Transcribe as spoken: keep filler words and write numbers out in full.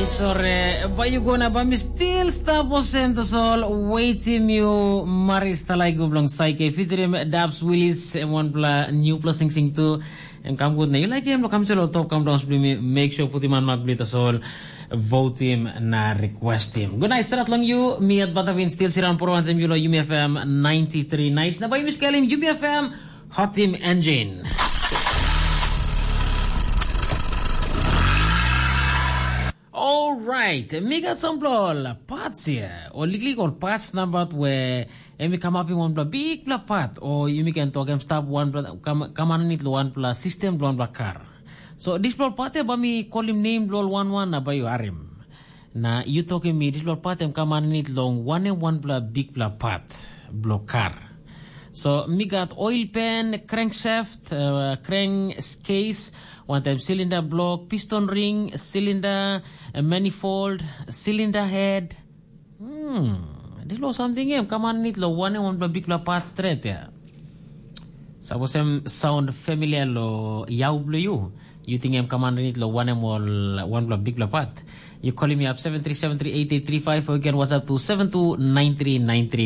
Sore, bai yu go na bai mi stil stap olsem tasol. Waitim yu, Maris Talaigu bilong Saike featuring Dabs Willis, em wanpela newpela singsing tu. Em kam gut na yu like em lo kam selo top kam dong bli mi make sure putim an mak bli tasol. Votim na requestim. Good night, start long you. Mi at Batavin still siran poro antem you lo Yumi F M ninety-three nice. Na bai mi skelim Yumi F M Hot Team Engine. Alright, mi gat sampela ol parts here, o liklik ol parts nabat we em i kamapim wanpela bikpela part, o yumi ken tok em stap wanpela kam aninit long wanpela sistem bilong wanpela kar. So dispela ol part ya bai mi kolim nem bilong ol wan wan na bai yu harim. Na yu tokim mi dispela ol part em kam aninit long wanem wanpela bikpela part bilong kar. So mi gat oil pan, crankshaft, uh, crankcase, wantaim cylinder block, piston ring, cylinder, uh, manifold, cylinder head. Hmm, dispela samting em kam aninit long wanem wanpela bikpela part stret ya. Sapos em sound familiar lo yau bilong yu, yu ting em kam aninit long wanem ol wanpela bikpela part. You calling me up seven three seven three eight eight three five, or you can WhatsApp to seven two nine three nine three.